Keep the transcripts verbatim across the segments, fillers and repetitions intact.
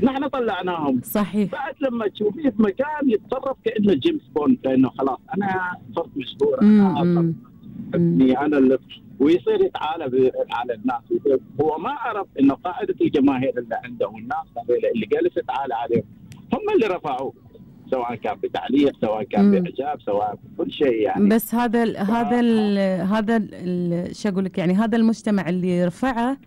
نحن طلعناهم. صحيح. بعد لما تشوفيه في مكان يتصرف كانه جيمس بوند، كانه خلاص انا صرت مشهور، انا صرت ابني انا اللي، ويصير يتعالى على الناس. هو ما عرف انه قاعده الجماهير اللي عنده والناس اللي جالس يتعالى عليهم هم اللي رفعوه، سواء كان بتعليق، سواء كان باعجاب، سواء بكل شيء يعني. بس هذا ال هذا ال هذا شو اقول لك، يعني هذا المجتمع اللي رفعه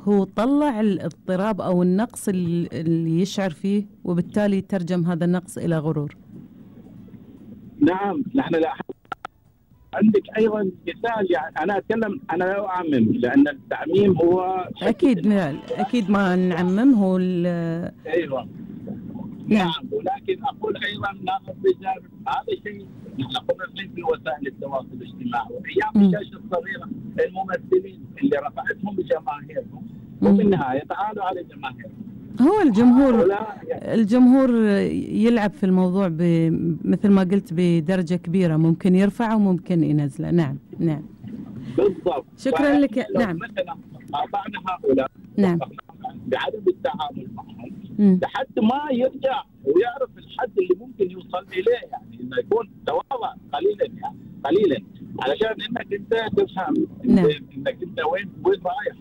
هو طلع الاضطراب او النقص اللي يشعر فيه، وبالتالي ترجم هذا النقص الى غرور. نعم. نحن لا عندك ايضا مثال، يعني انا اتكلم، انا لا اعمم، لان التعميم هو اكيد اكيد ما نعمم، هو ايوه نعم. ولكن اقول ايضا ناخذ بجانب هذا الشيء. نحن قلنا الحين في وسائل التواصل الاجتماعي وايام الشاشه الصغيره، الممثلين اللي رفعتهم جماهيرهم، وفي النهايه تعالوا على جماهيرهم. هو الجمهور الجمهور يلعب في الموضوع مثل ما قلت بدرجه كبيره، ممكن يرفعه وممكن ينزله. نعم نعم بالضبط. شكرا لك. نعم مثلا قاطعنا هؤلاء نعم بعدم التعامل معهم لحد ما يرجع ويعرف الحد اللي ممكن يوصل اليه، يعني انه يكون تواضع قليلا، يعني قليلا، علشان انك انت تفهم نعم. انك انت وين وين رايح.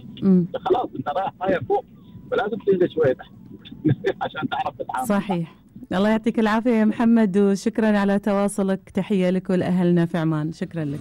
خلاص انت رايح رايح فوق، فلازم تنزل شويه تحت عشان تعرف تتعامل. صحيح. الله يعطيك العافيه يا محمد، وشكرا على تواصلك. تحيه لك ولاهلنا في عمان. شكرا لك.